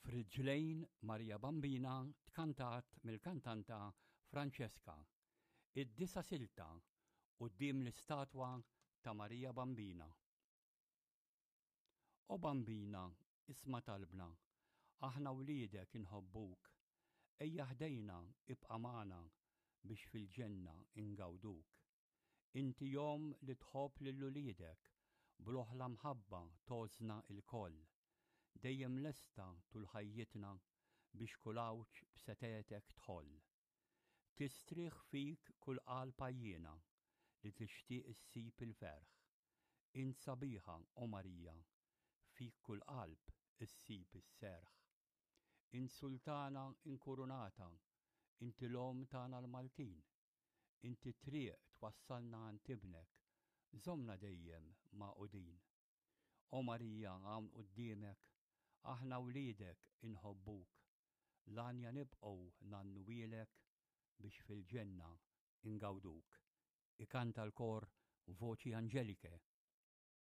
F'Riġlejn Marija Bambina tkantat mill-kantanta Francesca. Id-disa' silta quddiem l-istatwa ta' Marija Bambina. O Bambina, isma' talbna, aħna wliedek inħobbuk. Ejja ħdejna, ibqa' magħna biex fil-ġenna ingawduk. Inti omm li tħobb lil uliedek, bl-oħla mħabba tgħożżna lkoll. Dejjem lesta tul ħajjitna biex kull għawġ b'setgħetek tħoll. Tistrieħ fik kull qalb għajjiena li tixtieq issib il-ferħ. Int sabiħa, o Marija, fik kull qalb issib is-serħ. Int sultana inkurunata, inti l-omm tagħna l-Maltin. Inti t-triq twassalna għand Ibnek, żommna dejjem magħqudin. O Marija hawn quddiemek, aħna wliedek inħobbuk, l-għanja nibqgħu ngħannuhielek biex fil-ġenna ngawduk. Ikanta l-kor Voci Angeliche.